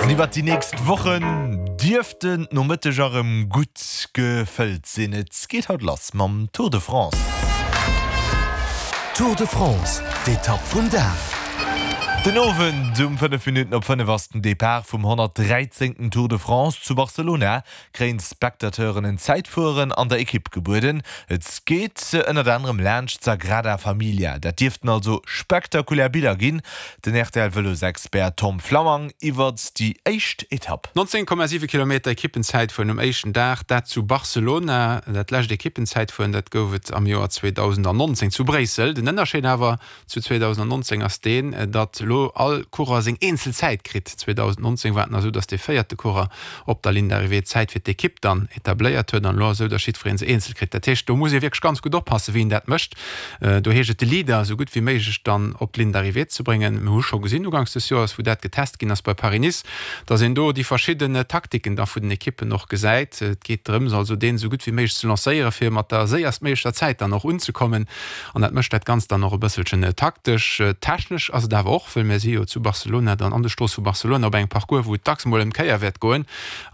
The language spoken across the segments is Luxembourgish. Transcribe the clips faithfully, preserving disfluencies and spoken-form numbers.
An iwwert déi nächst Wochen dierften d'Nomëtteger erëm gutt gefëllt sinn. Et geet haut lass mam Tour de France. Tour de France, d'Etapp vum Dag. Den Owend um fënnef Minutten op fënnef ass den Depart vum honnertdräizéngten Tour de France. Zu Barcelona kréien d'Spectateuren en Zäitfueren an der Ekipp gebueden. Et geet ënnert anerem laanscht d'Sagrada Familia. Dat dierften also spektakulär Biller ginn. Den R T L-Vëlosexpert Tom Flammang iwwert déi éischt Etapp. nonzéng Komma siwe Kilometer Ekippenzäitfueren um éischten Dag, dat zu Barcelona. Dat lescht Ekippenzäitfueren, dat gouf et am Joer zweedausendnonzéng zu Bréissel. Den Ënnerscheed awer zu zweedausendnonzéng ass deen, datt elo all Coureur seng eenzel Zäit kritt. zweedausendnonzéng war et nach esou, datt dee véierte Coureur op der Ligne d'arrivée d'Zäit fir d'Ekipp dann etabléiert huet, an elo ass esou, datt jiddweree se eenzel kritt. Dat heescht, do muss ee wierklech ganz gutt oppassen, wéi een dat mécht. Do heescht et, de Leader esou gutt wéi méiglech dann op d'Ligne d'arrivée ze bréngen. Mir hu scho gesinn uganks des Joers, wou dat getest ginn ass bei Paris-Nice, datt een do déi verschidden Taktiken da vun den Ekippen och gesäit. Et geet drëms also, deen esou gutt wéi méiglech ze lancéieren, fir mat der séierstméiglecher Zäit dann och unzekommen. An dat mécht dat Ganzt dann och e bësselchen taktesch. Technesch ass et awer och, well mir si jo zu Barcelona dann an de Stroosse vu Barcelona op engem Parcours, wou et dacks mol ëm d'Kéier wäert goen.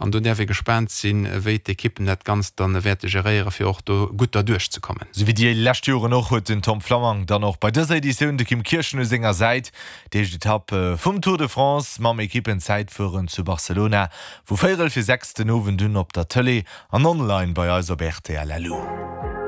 An do däerf ee gespaant sinn, wéi d'Ekippen dat Ganzt dann wäerte geréieren, fir och do gutt derduerch ze kommen. Sou wéi déi lescht Joren och huet den Tom Flammang dann och bei dëser Editioun de Kim Kirchen u senger Säit. Déi éischt Etapp vum Tour de France mam Ekippenzäitfueren zu Barcelona vu véierel fir sechs den Owend un op der Tëlee an online bei eis op R T L L U.